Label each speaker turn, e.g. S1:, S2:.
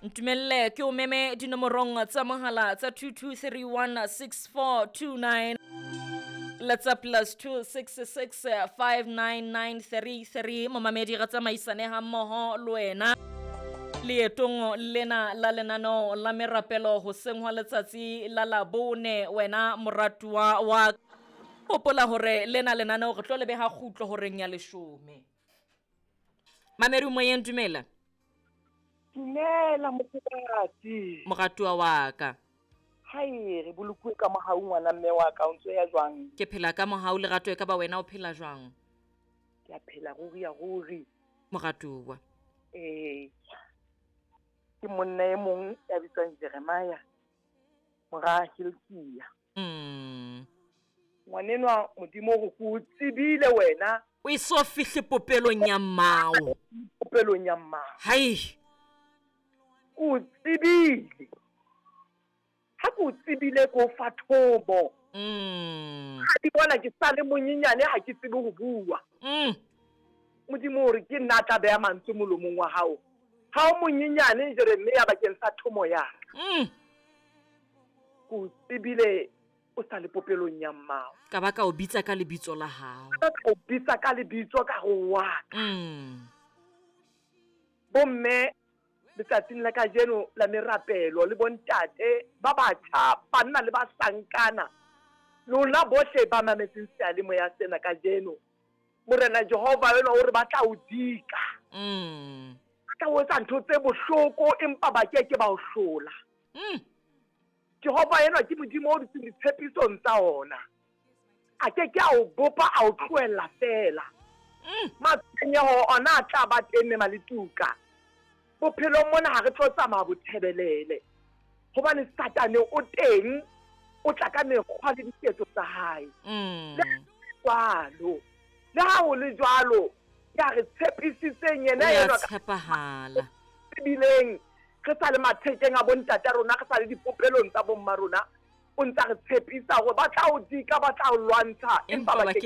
S1: Ntumelle ke o meme dinomorong tsa mohala tsa 22316429 le tsa plus 266 59933. Momamedi, re tsamaisane ha mmoho le wena leetong lena la lenaneo la merapelo hoseng hwa letsatsi la Labone. Wena moratuwa wa, hopola hore lena lenaneo re tlo le beha kgutlo horeng ya 10. Mamedi moyeng, dumela.
S2: Dumela, mokgotsi.
S1: Moratuwa wa ka.
S2: Hai, re bolokuwe ka mohau, ngwana mme wa ka. O ntso ya jwang?
S1: Ke phela ka mohau, lerato. E ka ba wena o phela jwang?
S2: Ke a phela, ruri ya ruri.
S1: Moratuwa.
S2: Ee, ke monna e mong ya bitswang Jeremiah, mora Hilkia. Ngwanenwa, Modimo hore ke o tsebile wena
S1: o e so fihle popelong ya mmao.
S2: Popelong ya mmao.
S1: Hai.
S2: Ke o tsebile. Ha ke o tsebile, ke o fa thobo. Ha di bona ke sa le monyenyane, ha ke tsebe ho bua. Modimo hore ke nna a tla beha mantswe molomong wa hao. Ha o monyenyane, Jeremia, bakeng sa thomo ya ka. Ke o tsebile o sa le popelong ya mmao.
S1: Ka ba ka o bitsa ka lebitso la hao.
S2: Ka o bitsa ka lebitso, ka ho wa ka. Bomme, letsatsing la kajeno la merapelo, le bontate ba batjha, banna le bahlankana, lona bohle ba mametseng seyalemoya sena kajeno, Morena Jehova enwa o re ba tla o dika. Ba tla o etsa ntho tse bohloko, empa ba ke ke ba o hlola. Jehova enwa ke Modimo o dutseng ditshepisong tsa ona. A ke ke a o bopa a o tlohella feela. Matshwenyeho ona a tla ba teng mme maletuka. Bophelong mona ha re tlo tsamaya bothebelele, hobane Satane o teng, o tla ka mekgwa le diketso tsa hae. Le jwalo, le ha ho le jwalo, ya re tshepisitseng yena
S1: o ya
S2: enwa ka
S1: tshepahala.
S2: Tsebileng re sa le mathekeng a bontata rona, re sa le dipopelong tsa bomma rona, o ntsa re tshepisa hore ba tla o dika, ba tla o lwantsha, empa
S1: empa
S2: ba
S1: ba
S2: ke
S1: ke